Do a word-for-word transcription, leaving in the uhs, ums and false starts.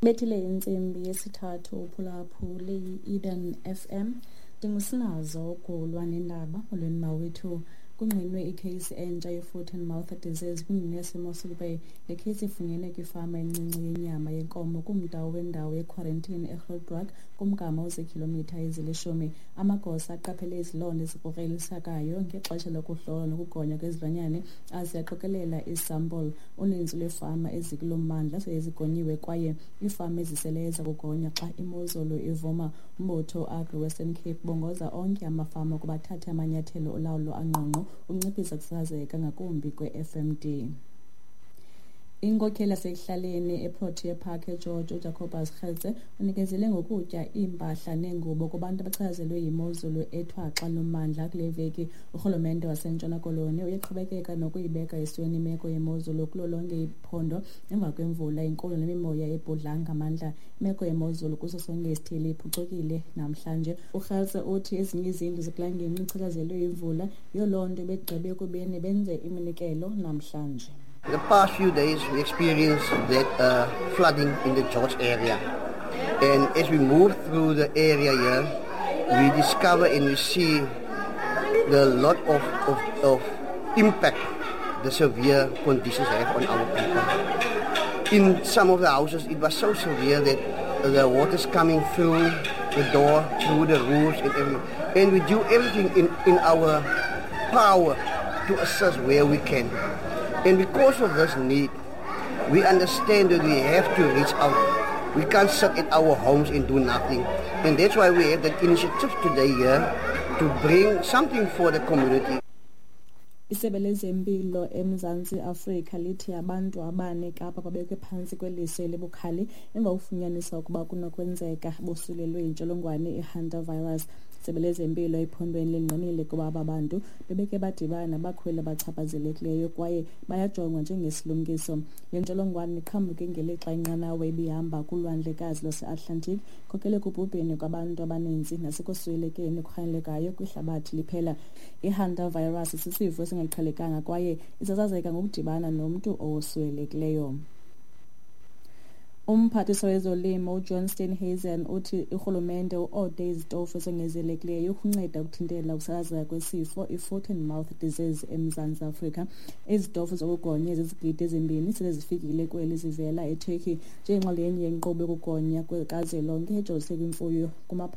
Bethile intsimbi yesithathu uphulaphule i-Eden F M. Ndingusinazo ukulwa nendaba. Molweni mawethu. Kungqinwe ikheyisi entsha ye-foot and mouth disease kwingingqi yaseMossel Bay. Le kheyisi ifunyenwe kwifama encinci yenyama yenkomo kumda wendawo yekhwarantini eGrootdraak, kumgama oziikhilomitha ezilishumi. Amagosa aqaphele izilonda ezikrokrelekayo ngexesha lokuhlolwa nokugonywa kwezilwanyane aze aqokelela iisampulu. Uninzi lweefama ezikulo mmandla sele zigonyiwe kwaye iifama eziseleyo ziza kugonywa xa imozulu ivuma. Umbutho uAgri Western Cape ubongoza onke amafama ukuba athathe amanyathelo olawulo angqongqo ukunciphisa ukusasazeka ngakumbi kwe-F M D. Inkokheli yasekuhlaleni eProtea Park eGeorge, uJacobus Gertze, unikezele ngokutya, iimpahla neengubo kubantu abachazelwe yimozulu ethwaxa lommandla kule veki. Urhulumente waseNtshona Koloni uyaqhubekeka nokuyibeka esweni imeko yemozulu kulo lonke iphondo emva kwemvula enkulu nemimoya ebhudla ngamandla. Imeko yemozulu kuso sonke isithili iphucukile namhlanje. UGertze uthi ezinye izindlu zikulaa ngingqi ichatshazelwe yimvula, yiyo loo nto begqibe ekubeni benze iminikelo namhlanje. The past few days we experienced that uh, flooding in the George area. And as we move through the area here, we discover and we see the lot of, of, of impact the severe conditions have on our people. In some of the houses, it was so severe that the water's coming through the door, through the roofs and everything. And we do everything in, in our power to assist where we can. And because of this need, we understand that we have to reach out. We can't sit at our homes and do nothing. And that's why we have that initiative today here to bring something for the community. Isebe lezempilo eMzantsi Afrika lithi abantu abane eKapa babekwe phantsi kweliso elibukhali emva kokufunyaniswa ukuba kunokwenzeka bosulelwe yintsholongwane ihantavirus. Isebe lezempilo ephondweni lingqinile ukuba aba bantu bebeke badibana nabakhweli abachaphazelekileyo kwaye bayajongwa njengesilumkiso. Le ntsholongwane iqhambuke ngelixa inqanawa ibihamba kulwandlekazi lwaseAtlantic, ikhokele ekubhubheni kwabantu abaninzi nasekuswelekeni okurhanelekayo kwihlabathi liphela. Ihantavirus sisifo esingaqhelekanga kwaye isasazeka ngokudibana nomntu owoswelekileyo. Umphathiswa wezolimo uJohn Steenhuisen uthi urhulumente uode izitofu ezongezelekileyo ukunceda ukuthintela ukusasazeka kwesifo i-foot and mouth disease eMzantsi Afrika. Izitofu zokugonya ezizigidi ezimbini sele zifikile kweli zivela eTurkey njengenxalenye yenkqubo yokugonya kazwelonke ejolise kwimfuyo kumaphondo.